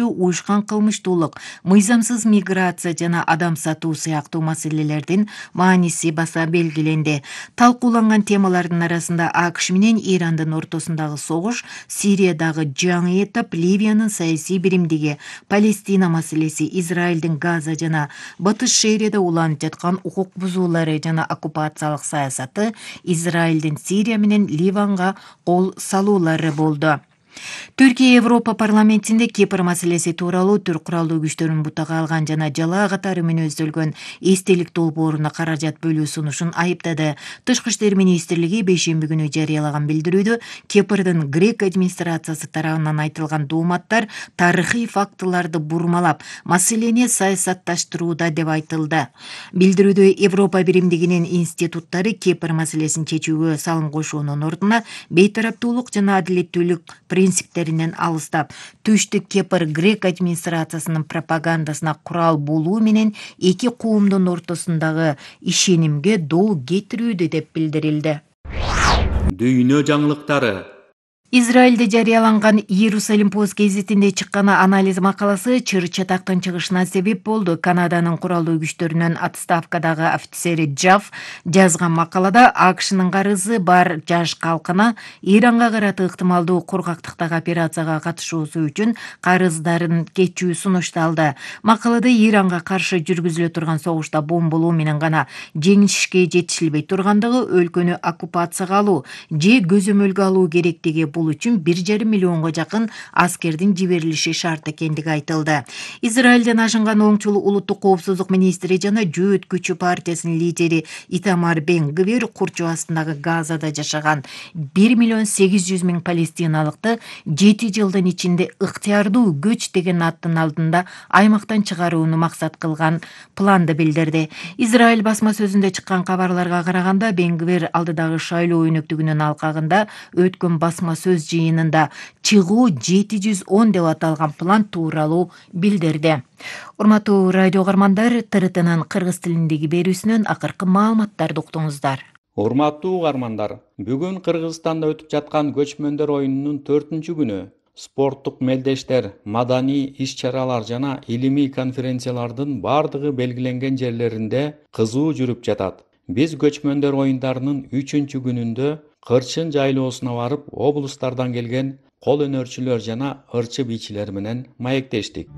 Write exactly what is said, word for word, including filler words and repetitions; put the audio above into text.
уюшкан кылмыштуулук, мыйзамсыз миграция жана адам сатуу сыяктуу маселелердин мааниси баса белгиленди. Талкууланган темалардын арасында АКШ менен Ирандын ортосундагы согуш, Сириядагы жаңы этап, Ливиянын саясий биримдиги, Палестина маселеси, Израилдин Газа жана Батыш шаарында уланып жаткан укук бузуулары жана оккупациялык саясаты, Израилдин Сирия менен Ливанга кол салуулары болду. Түркия Европа парламентинде Кипр маселеси тууралуу Түрк куралдуу күчтөрүн бутага алган жана жалаа катары мүнөздөлгөн эстелик долбооруна каражат бөлүү сунушун айыптады. Тышкы иштер министрлиги бейшемби күнү жарыялаган билдирүүдө Кипрдин грек администрациясы тарабынан айтылган дооматтар тарыхый фактыларды бурмалап, маселени саясатташтырууда деп айтылды. Билдирүүдө Европа биримдигинин институттары Кипр маселесин чечүүгө салым кошуунун ордуна бейтараптуулук жана адилеттүүлүк принциптеринен алыстап, Түштүк Кипр грек администрациясынын пропагандасына курал болуу менен эки коомдун ортосундагы ишенимге доо кетирүүдө деп билдирилди. Дүйнө жаңылыктары. Израилде жарыяланган Иерусалим пост гезитинде чыккан анализ макаласы чыр чатактын чыгышына себеп болду. Канаданын куралдуу күчтөрүнүн отставкадагы офицери Джаф жазган макалада АКШнын карызы бар жаш калкына Иранга карата ыктымалдуу кургактыктагы операцияга катышуусу үчүн карыздарын кечүү сунушталды. Макалада Иранга каршы жүргүзүлө турган согушта бомбалоо менен гана жеңишке жетишилбей тургандыгы, өлкөнү оккупацияга алуу же көзөмөлгө алуу керектиги, бул үчүн бир жарым миллионго жакын аскердин жиберилиши шарт экендиги айтылды. Израилден ашынган оңчул улуттук коопсуздук министри жана Жөөт күчү партиясынын лидери Итамар Бен Гвир курчоо астындагы Газада жашаган бир миллион сегиз жүз миң палестиналыкты жети жылдын ичинде ыктыярдуу көч деген аттын алдында аймактан чыгарууну максат кылган планды билдирди. Израиль басма сөзүндө чыккан кабарларга караганда, Бен Гвир алдыдагы шайлоо өнөктүгүнүн алкагында өткөн басма сөз жыйынында чыгуу жети жүз он деп аталган план тууралуу билдирди. Урматтуу радио угармандар, ТРТнын кыргыз тилиндеги берүүсүнөн акыркы маалыматтарды уктуңуздар. Урматтуу угармандар, бүгүн Кыргызстанда өтүп жаткан көчмөндөр оюнунун төртүнчү күнү. Спорттук мелдештер, маданий иш-чаралар жана илимий конференциялардын бардыгы белгиленген жерлеринде кызуу жүрүп жатат. Биз көчмөндөр оюндарынын үчүнчү күнүндө Кырчын жайлоосуна барып, облустардан келген кол өнөрчүлөр жана ырчы бийчилер менен маектештик.